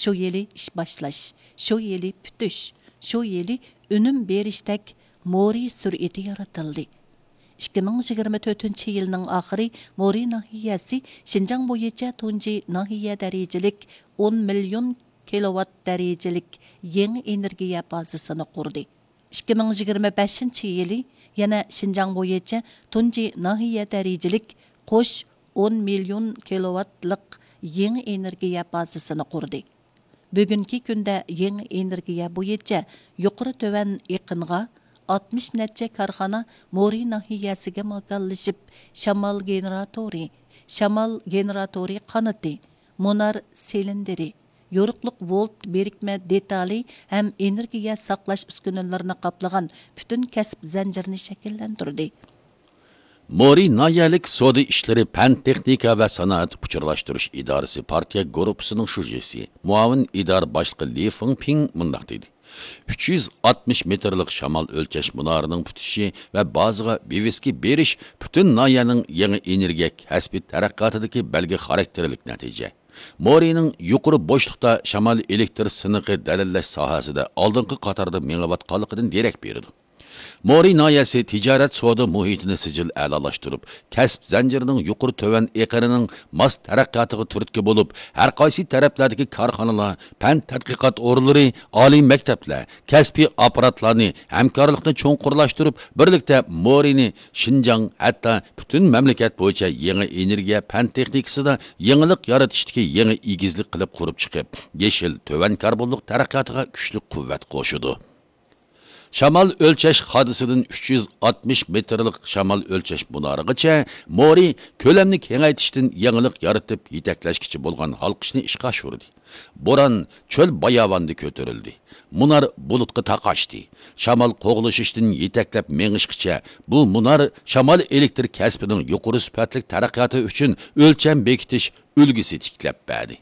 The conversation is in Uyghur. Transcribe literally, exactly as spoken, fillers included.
شۇ يىلى ئىش باشلاش، شۇ يىلى پۈتۈش، شۇ يىلى ئۈنۈم بېرىشتەك مورى سۈرئىتى يارىتىلدى. ئىككى مىڭ يىگىرمە تۆتىنچى يىلنىڭ ئاخىرى مورى ناھىيەسى شىنجاڭ بويىچە تۇنجى ناھىيە دەرىجىلىك ئون مىليون كىلوۋات دەرىجىلىك يېڭى ئېنېرگىيە بازىسىنى قۇردى. ئىككى مىڭ يىگىرمە بەشىنچى يىلى يەنە شىنجاڭ بويىچە تۇنجى ناھىيە دەرىجىلىك قوش ئون مىليون كىلوۋاتلىق يېڭى ئېنېرگىيە بازىسىنى قۇردى. بۈگۈنكى كۈندە يېڭى ئېنېرگىيە بويىچە يۇقىرى تۆۋەن ئېقىنغا ئاتمىش نەچچە كارخانا مورى ناھىيەسىگە ماكانلىشىپ، شامال گېنېراتورى، شامال گېنېراتورى قانىتى، مۇنار سىلىندىرى، يورۇقلۇق ۋولت بىرىكمە دېتالى ھەم ئېنېرگىيە ساقلاش ئۈسكۈنىلىرىنى قاپلىغان پۈتۈن كەسىپ زەنجىرىنى شەكىللەندۈردى. مورى ناھىيەلىك سودا ئىشلىرى پەن تېخنىكا ۋە سانائەت ئۇچۇرلاشتۇرۇش ئىدارىسى پارتىيە گۇرۇپپىسىنىڭ شۇجىسى، مۇئاۋىن ئىدارە باشلىقى لى فېڭپىڭ مۇنداق دېدى: ئۈچ يۈز ئاتمىش مېتىرلىق شامال ئۆلچەش مۇنارىنىڭ پۈتۈشى ۋە بازىغا ۋىۋىسكا بېرىش پۈتۈن ناھىيەنىڭ يېڭى ئېنېرگىيە كەسپى تەرەققىياتىدىكى بەلگە خاراكتېرلىك نەتىجە. مورىنىڭ يۇقىرى بوشلۇقتا شامال ئېلېكتر سىنىقى دەلىللەش ساھەسىدە ئالدىنقى قاتاردا مېڭىۋاتقانلىقىدىن دېرەك بېرىدۇ. مورى ناھىيەسى تىجارەت سودا مۇھىتىنى سىجىل ئەلالاشتۇرۇپ، كەسىپ زەنجىرىنىڭ يۇقىرى تۆۋەن ئېقىنىنىڭ ماس تەرەققىياتىغا تۈرتكە بولۇپ، ھەر قايسى تەرەپلەردىكى كارخانىلار، پەن تەتقىقات ئورۇنلىرى، ئالىي مەكتەپلەر، كەسپىي ئاپپاراتلارنى ھەمكارلىقنى چوڭقۇرلاشتۇرۇپ، بىرلىكتە مورىنى شىنجاڭ، ھەتتا پۈتۈن مەملىكەت بويىچە يېڭى ئېنېرگىيە پەن تېخنىكىسىدا يېڭىلىق يارىتىشتىكى يېڭى ئېگىزلىك قىلىپ قۇرۇپ چىقىپ، يېشىل، تۆۋەن كاربونلۇق تەرەققىياتىغا كۈچلۈك قۇۋۋەت قوشىدۇ. شامال ئۆلچەش خادىسىدىن ئۈچ يۈز ئاتمىش مېتىرلىق شامال ئۆلچەش مۇنارىغىچە مورى كۆلەمنى كېڭەيتىشتىن يېڭىلىق يارىتىپ يېتەكلەشكىچە بولغان ھالقىشنى ئىشقا ئاشۇردى. بوران چۆل باياۋاندا كۆتۈرۈلدى. مۇنار بۇلۇتقا تاقاشتى. شامال قوغلىشىشتىن يېتەكلەپ مېڭىشقىچە بۇ مۇنار شامال ئېلېكتر كەسپىنىڭ يۇقىرى سۈپەتلىك تەرەققىياتى ئۈچۈن ئۆلچەم بېكىتىش ئۈلگىسى تىكلەپ بەردى.